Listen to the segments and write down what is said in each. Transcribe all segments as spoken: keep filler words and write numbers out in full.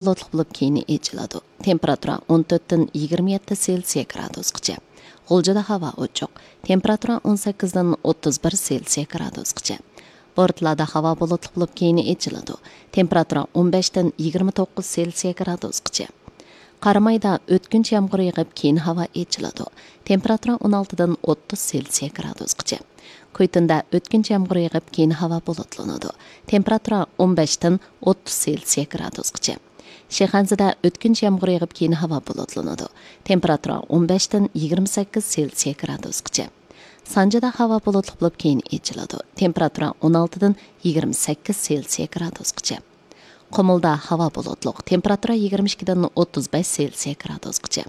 بۇلۇتلۇق بولۇپ، كېيىن ئېچىلىدۇ. تېمپېراتۇرا ئون تۆتتىن يىگىرمە يەتتە سېلسىيە گرادۇسقىچە. غۇلجىدا ھاۋا ئوچۇق. تېمپېراتۇرا ئون سەككىزدىن ئوتتۇز بىر سېلسىيە گرادۇسقىچە. بورتالادا ھاۋا بۇلۇتلۇق بولۇپ، كېيىن ئېچىلىدۇ. تېمپېراتۇرا ئون بەشتىن يىگىرمە توققۇز سېلسىيە گرادۇسقىچە. قارامايدا ئۆتكۈنچ يامغۇر يېغىپ، كېيىن ھاۋا ئېچىلىدۇ. تېمپېراتۇرا ئون ئالتىدىن ئوتتۇز سېلسىيە گرادۇسقىچە. كۇيتۇندا ئۆتكۈنچ يامغۇر يېغىپ، كېيىن ھاۋا بۇلۇتلىنىدۇ. تېمپېراتۇرا ئون بەشتىن ئوتتۇز سېلسىيە گرادۇسقىچە. شىخەنزىدە ئۆتكۈنچ يامغۇر يېغىپ، كېيىن ھاۋا بۇلۇتلىنىدۇ. تېمپېراتۇرا ئون بەشتىن يىگىرمە سەككىز سېلسىيە گرادۇسقىچە. سانجىدا ھاۋا بۇلۇتلۇق بولۇپ، كېيىن ئېچىلىدۇ. تېمپېراتۇرا ئون ئالتىدىن يىگىرمە سەككىز سېلسىيە گرادۇسقىچە. قۇمۇلدا ھاۋا بۇلۇتلۇق، تېمپېراتۇرا يىگىرمە ئىككىدىن ئوتتۇز بەش سېلسىيە گرادۇسقىچە.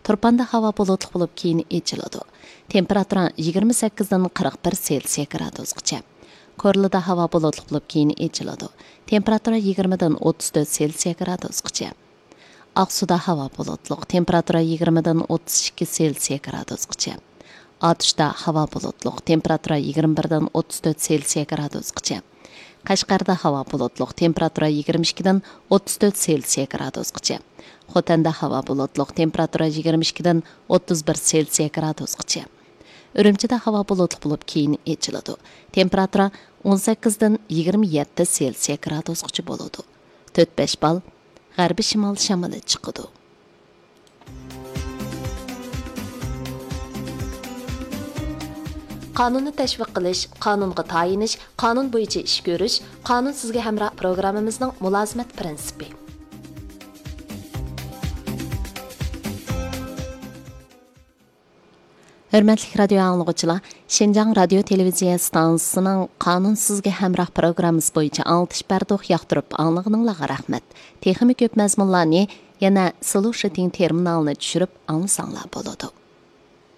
تۇرپاندا ھاۋا بۇلۇتلۇق بولۇپ، كېيىن ئېچىلىدۇ. تېمپېراتۇرا يىگىرمە سەككىزدىن قىرىق بىر سېلسىيە گرادۇسقىچە. كورلىدا ھاۋا بۇلۇتلۇق بولۇپ، كېيىن ئېچىلىدۇ. تېمپېراتۇرا يىگىرمىدىن ئوتتۇز تۆت سېلسىيە گرادۇسقىچە. ئاقسۇدا ھاۋا بۇلۇتلۇق، تېمپېراتۇرا يىگىرمىدىن ئوتتۇز ئىككى سېلسىيە گرادۇسقىچە. ئاتۇشتا ھاۋا بۇلۇتلۇق، تېمپېراتۇرا يىگىرمە بىردىن ئوتتۇز تۆت سېلسىيە گرادۇسقىچە. قەشقەردە ھاۋا بۇلۇتلۇق، تېمپېراتۇرا يىگىرمە ئىككىدىن ئوتتۇز تۆت سېلسىيە گرادۇسقىچە. خوتەندە ھاۋا بۇلۇتلۇق، تېمپېراتۇرا يىگىرمە ئىككىدىن ئوتتۇز بىر سېلسىيە گرادۇسقىچە. ئۈرۈمچىدە ھاۋا بۇلۇتلۇق بولۇپ، كېيىن ئېچىلىدۇ. تېمپېراتۇرا ئون سەككىزدىن يىگىرمە يەتتە سېلسىيە گرادۇسقىچە بولىدۇ. تۆت بەش بال غەربىي شىمال شامىلى چىقىدۇ. قانۇننى تەشۋىق قىلىش، قانۇنغا تايىنىش، قانۇن بويىچە ئىش كۆرۈش، قانۇن سىزگە ھەمراھ پروگراممىمىزنىڭ مۇلازىمەت پىرىنسىپى. ھۆرمەتلىك رادىيو ئاڭلىغۇچىلار، شىنجاڭ رادىيو تېلېۋىزىيە ئىستانسىسىنىڭ قانۇن سىزگە ھەمراھ پروگراممىسى بويىچە ئاڭلىتىش بەردۇق، ياقتۇرۇپ ئاڭلىغىنىڭلارغا رەھمەت. تېخىمۇ كۆپ مەزمۇنلارنى يەنە سلۇشىتىڭ تېرمىنالىنى چۈشۈرۈپ ئاڭلىساڭلار بولىدۇ.